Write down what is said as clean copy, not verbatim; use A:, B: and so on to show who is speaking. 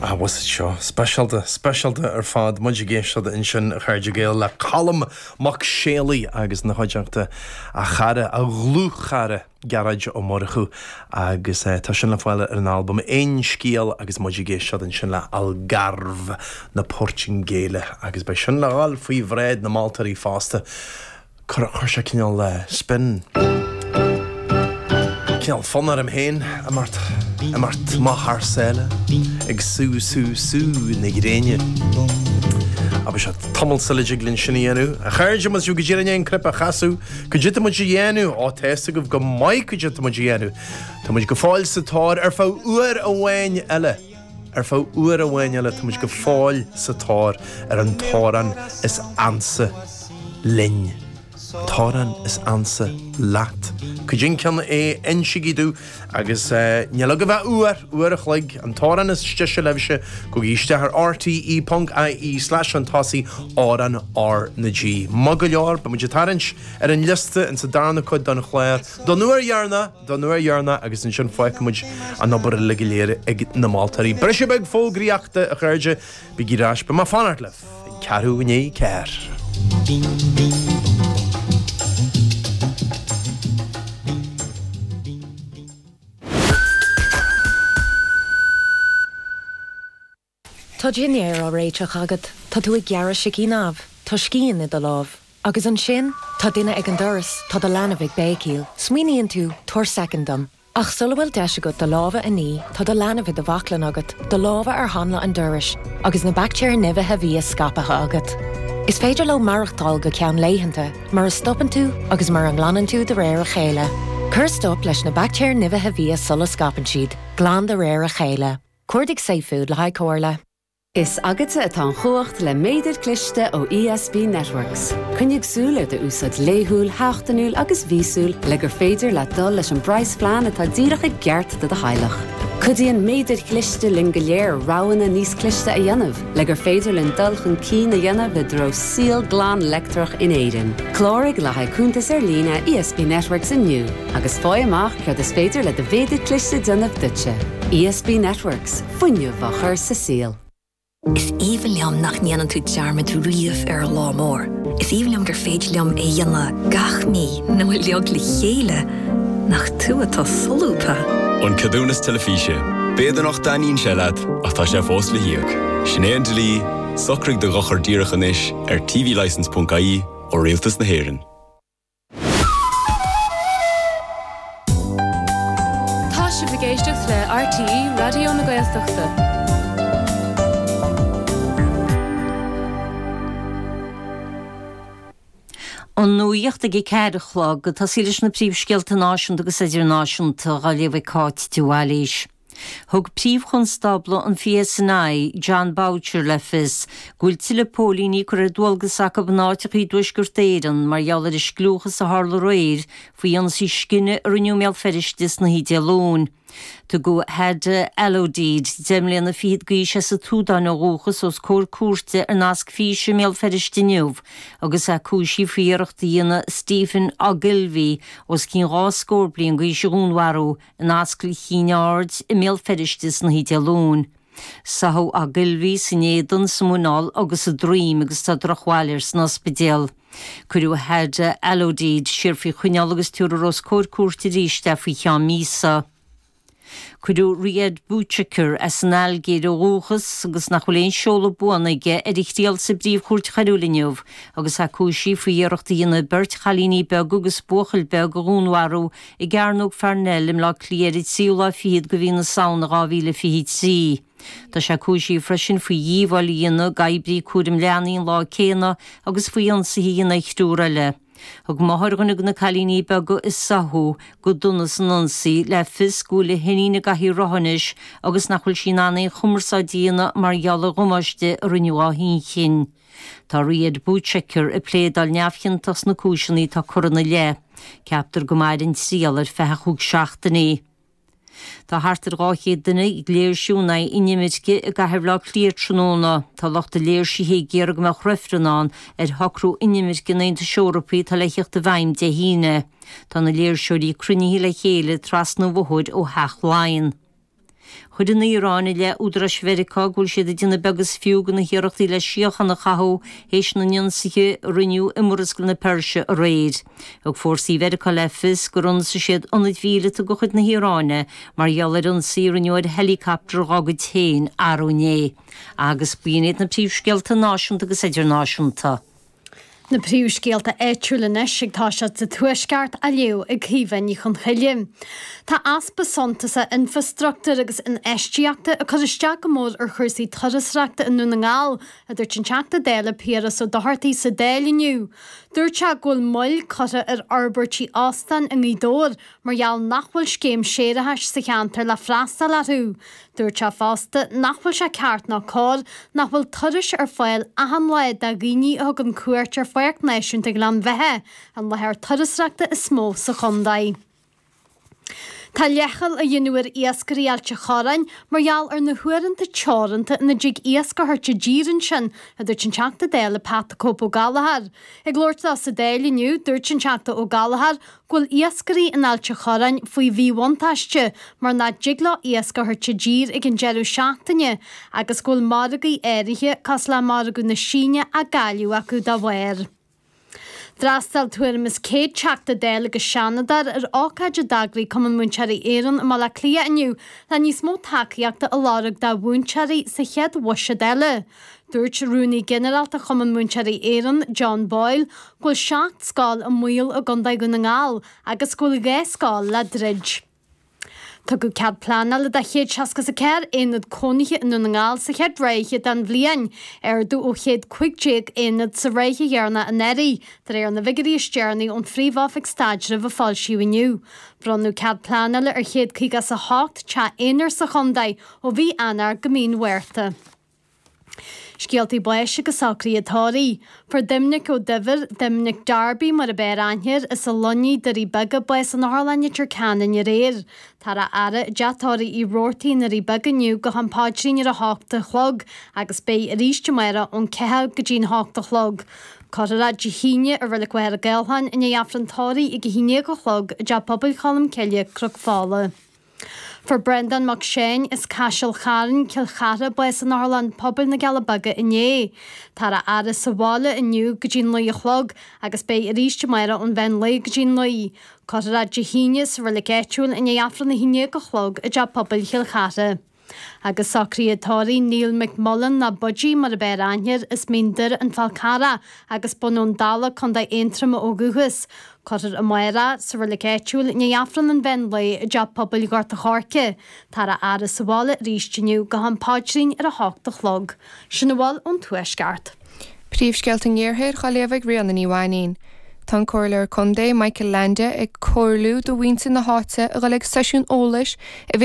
A: Ah, bhfuil fhios agat seo, speisialta, speisialta ar fad. Muid ag éisteacht ansin, a chairde Gael, le Colm Mac Séalaigh agus ina chuideachta, a chara, a dhlúthchara, Gearóid Ó Murchú agus tá sin le fáil ar an albam Aon Scéal agus muid ag éisteacht ansin le Algarve na Portaingéile agus beidh sin le dhul faoi bhráid na moltóirí fosta. Chuir sé cineál spin, cineál fonn orm féin imeacht, imeacht amach thar sáile, ag sú, sú, sú na gréine. Ach beidh sé tamall sula dtig linn sin a dhéanamh. A chairde, má tá sibh go díreach i ndiaidh an cnaipe a chasadh, cad é atá muid a dhéanamh? Ó, tá fhios agaibh go maith cad é atá muid a dhéanamh. Tá muid go fóill sa tóir ar feadh uair amháin eile. Ar feadh uair amháin eile tá muid go fóill sa tóir ar an t-amhrán is ansa linn. An t-amhrán is ansa leat. Cad é an ceann é, insígí domh agus níl agaibh ach uair, uair a chloig, an t-amhrán is deise libhse, gabhaigí isteach ar rte ponc ie slash chun tosaigh amhrán R na G. Maith go leor, beidh muid ag tarraingt ar an liosta insa darna cuid den chlár don uair dheireanach! Don uair dheireanach agus ansin fágfaidh muid an obair uilig go léir ag na moltóirí. Briseadh beag fógraíochta, a chairde, bígí ar ais, beidh mé ag fanacht libh ag ceathrú i ndiaidh a ceathair.
B: Tá dinnéar á réiteach agat, tá tú ag gearradh sicín amh, tá scian i do lámh. Agus ansin, tá duine ag an doras, tá do leanbh ag béicíl. Smaoiníonn tú, tabhair soicind dom. Ach sula bhfuil deis agat do lámha a ní, tá do leanbh i do bhaclainn agat, do lámha ar hanla an dorais, agus na baictéir nimhithe bhia scaipthe agat. Is féidir leo maireachtáil go ceann laethanta, mura stopann tú agus mura nglanann tú de réir a chéile. Cuir stop leis na baictéir nimhithe bhia sula scaipeann siad. Glan de réir a chéile. Cuardaigh safefood le haghaidh comhairle.
C: Is agatsa atá an chumhacht le méadair cliste ó ESB Networks. Coinnigh súil ar d'úsáid laethúil, sheachtainiúil agus mhíosúil le gur féidir leat dul leis an bpraghasphlean atá díreach i gceart do do theaghlach. Cuidíonn méadair chliste linn go léir roghanna níos cliste a dhéanamh le gur féidir linn dul chun cinn a dhéanamh i dtreo saol glan leictreach in Éirinn. Cláraigh le haghaidh cuntas ar líne ESB Networks inniu. Agus faigh amach céard is féidir le do mhéadar cliste déanamh duitse. ESB Networks, fuinneamh á chur sa saol.
D: Is aoibhinn liom nach ndéanann tú dearmad riamh ar an lá mór. Is aoibhinn liom gur féidir liom é a dhéanamh gach mí nó uilig le chéile. Nach tú atá solúbtha!
E: An Ceadúnas Teilifíse. B'fhéidir nach dtaitníonn sé leat, ach tá sé fós le híoc. Sin é an dlí, socraigh do dhochar díreach anois ar tvlicence.ie ó Rialtas na hÉireann.
F: Tá sibh ag éisteacht le RTÉ Raidió na Gaeltachta.
G: An nuacht ag a 4 a chlog, ag tosaí leis na príomhscéalta náisiúnta agus idirnáisiúnta, á léamh ag Cáit de Bhailís. Thug Príomh-Chonstábla an PSNI, Jon Boutcher le fios go bhfuil tuilleadh póilíní curtha ar dualgas acu in áiteacha i dTuaisceart Éireann mar gheall ar an scliúchas a tharla aréir faoi ionsaí scine a rinneadh i mBéal Feirste san oíche Dé Luain. Tugadh Hada Alodid, 10 mbliana fichead d'aois as an tSúdáin ó dhúchas, os comhair cúirte ar nasc físe i mBéal Feirste inniu agus é cúisithe faoi iarracht a dhéanamh Stephen Ogilvie, os cionn dhá scór bliain d'aois a dhúnmharú in Ascaill Chinn Aird i mBéal Feirste san oíche Dé Luain. Sáthadh Ogilvie san éadan, sa muineál agus sa droim agus tá drochbhail air san ospidéal. Cuireadh Hada Alodid siar faoi choinneáil agus tabharfar os comhair cúirte arís é faoi cheann míosa. Cuireadh Riadh Bouchaker, as an Ailgéir ó dhúchas agus nach bhfuil aon seoladh buan aige, ar a thriail sa bPríomh-Chúirt Choiriúil inniu agus é cúisithe faoi iarracht a dhéanamh beirt chailíní beaga agus buachaill beag a dhúnmharú i gCearnóg Pharnell i mBleá Cliath ar an tríú lá fichead de mhí na Samhna 2023. Tá sé cúisithe freisin faoi dhíobháil a dhéanamh d'oibrí cúraim leanaí an lá céanna agus faoi ionsaithe a dhéanamh ar thriúr eile. Thug máthair dhuine de na cailíní beaga a sáthadh go dona san ionsaí le fios go bhfuil a hiníon i gcathaoir rotha anois agus nach bhfuil sí in ann aon chumarsáid a dhéanamh mar gheall ar dhamáiste a rinneadh dá hinchinn. Tá Riadh Bouchaker ag pléadáil neamhchiontach sna cúiseanna atá curtha ina leith. Ceaptar go mairfidh an triail ar feadh chúig seachtainí. Tá thart ar 200 duine ag léirsiú in aghaidh inimirce i gcathair Bhaile Átha Cliath tráthnóna. Tá lucht an léirsithe ag iarraidh go mbeadh reifreann ann ar shocrú inimirce an Aontais Eorpaigh atá le theacht i bhfeidhm Dé hAoine. Tá na léirseoirí cruinnithe le chéile trasna an bhóthair ó Theach Laighean. Chuir an Iaráin i leith údaráis Mheiriceá go bhfuil siad ag déanamh beag is fiú de na hiarrachtaí le síocháin a chothú théis na n-ionsaithe a rinneadh i Murascaill na Peirse aréir. Thug fórsaí Mheiriceá le fios gur ionsaigh siad ionaid mhíleata de chuid na hIaráine mar gheall ar ionsaí a rinneadh ar heileacaptar dá gcuid féin arú inné. Agus b'in iad na príomhscéalta náisiúnta agus idirnáisiúnta.
H: Na príomhscéalta áitiúla anois ag toiseacht sa Tuaisceart á léamh ag Caoimhe Ní Chonchoille. Tá easpa suntasach infreastruchtúir agus infheistíochta ag cur isteach go mór ar chúrsaí turasóireachta i nDún na nGall, a dúirt an Teachta Dála Piaras Ó Dochartaigh sa Dáil inniu. Dúirt sé go bhfuil moill curtha ar fhorbairtí óstán i nGaoth Dobhair mar gheall nach bhfuil scéim séarachais sa cheantar le freastal orthu. Dúirt sé fosta nach bhfuil sé ceart ná cóir nach bhfuil turais ar fáil achan lá do dhaoine a thugann cuairt ar Pháirc Náisiúnta Ghleann Bheatha, an láthair turasóireachta is mó sa chontae. Tá leithcheal á dhéanamh ar iascairí Ailt a' Chorráin mar gheall ar na huaireanta teoranta ina dtig iasc a thabhairt i dtír ansin, a dúirt an Teachta Dála Pat the Cope Ó Gallchóir. Ag labhairt dó sa Dáil inniu, dúirt an Teachta Ó Gallchóir go bhfuil iascairí in Ailt a' Chorráin faoi mhíbhuntáiste mar nach dtig leo iasc a thabhairt i dtír ag an deireadh seachtaine agus go bhfuil margaí áirithe, cosúil le margadh na Síne, á gcailleadh acu dá bharr. D'fhreastail tuairim is 100 Teachta Dála agus Seanadóir ar ócáid a d'eagraigh Cumann Múinteoirí Éireann i mBaile Átha Cliath inniu le níos mó tacaíochta a lorg do mhúinteoirí sa chéad bhuiséad eile. Dúirt Rúnaí Ginearálta Chumann Múinteoirí Éireann, John Boyle, go bhfuil 7 scoil i mbaol i gContae Dhún na nGall agus go bhfuil 2 scoil le druid. Tugadh cead pleanála do 164 aonad cónaithe i nDún na nGall sa chéad ráithe den bhliain, ardú ó 115 aonad sa ráithe dheireanach anuraidh, de réir na bhfigiúirí is deireanaí ón Phríomh-Oifig Staidrimh a foilsíodh inniu. Bronnadh cead pleanála ar 158 teach aonair sa chontae ó mhí Eanáir go mí an Mhárta. Scéaltaí báis agus socruithe tórraimh. Fuair Doimnic Ó Duibhir, Doimnic Darby mar ab fhearr aithne air, as an Luinnigh, Doirí Beaga, bás in Otharlann Leitir Ceanainn aréir. Táthar á fhaire i dteach tórraimh Uí Robhartaigh i nDoirí Beaga inniu go ham paidrín ar a hocht a chlog agus beidh arís amárach ón 4 go dtí'n hocht a chlog. Cuirfear é Dé hAoine i Reilig Mhachaire Gathlán i ndiaidh Aifreann tórraimh ag a 11 a chlog i dTeach Pobail Cholm Cille, Cnoc Fola. Fuair Breandán Mac Seáin as Caiseal Chairn, Cill Chartha, bás in Otharlann Pobail na gCealla Beaga inné. Táthar á fhaire sa bhaile inniu go dtí'n naoi a chlog agus beidh arís amárach ón mheán lae go dtí'n naoi. Cuirfear é Dé hAoine sa reilig áitiúil i ndiaidh Aifreann a haon déag a chlog i dTeach Pobail Chill Chartha. Agus socruithe tórraimh Neil McMullen nó Budgie mar ab fhearr aithne air, as Mín Doire An Fál Carrach agus Bun Abhann Dalla, Co. Aontroma ó dhúchas. Cuirfear amárach sa reilig áitiúil i ndiaidh Aifreann an mheán lae i dTeach Pobail Ghort a' Choirce. Táthar á fhaire sa bhaile arís inniu go ham paidrín ar a hocht a chlog. Sin a bhfuil ón Tuaisceart.
F: Príomhscéalta an Iarthair á léamh ag Ríona Ní Mhainín. Tá an Comhairleoir Contae Michael Leainde ag comhairliú do mhuintir na háite a dhul ag seisiún eolais a bheidh.